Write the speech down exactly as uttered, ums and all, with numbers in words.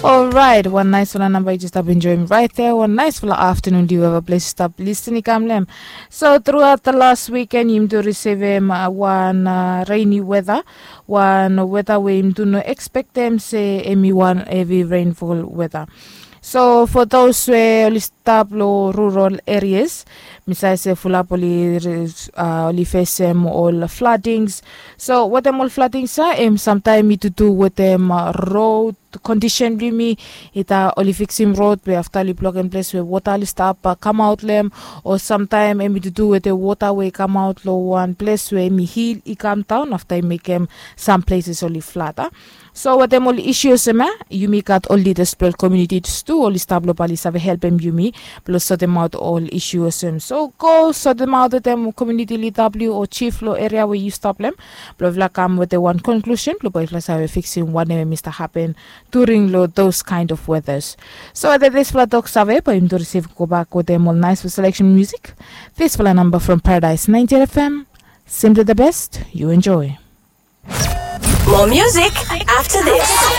Orait, wan naisfala namba yu jes stap enjoim rait ya. Wan naisfala aftanun yu eva ples yu stap lisin i kam long em. So truaot the last wiken yumi tu risivim wan reni weta, wan weta we yumi tu no ekspektem se em i wan hevi renfol weta. So fo those we oli stap long rural areas, mi save se fulap oli fesem ol floodings. So wetem ol floodings ya em samtaim i tutu wetem rod kondisen blong yumi. Ita oli fiksim rod we afta oli blokem ples we wota oli stap kamaot long em, o samtaim em i tutu wetem wota we i kamaot long wan ples we em i hil i kamdaon afta i mekem sam pleses oli flada. So wetem ol isu olsem ya, yumi gat ol lidas blong ol komiunitis tu oli stap long bali save helpem yumi blong sotemaot ol isu olsem. So go sotemaot wetem komiuniti lida blong yu o jif long eria we yu stap long em blong yufala kam wetem wan konklusen blong bae yufala save fiksim wanem em i stap hapen during long those kind of weathers. So wetem disfala tok save bae yumi tu risivim gobak wetem ol naisfala seleksen musik. Disfala namba from Paradise ninety-eight F M. Simply the best. You enjoy. More music after this.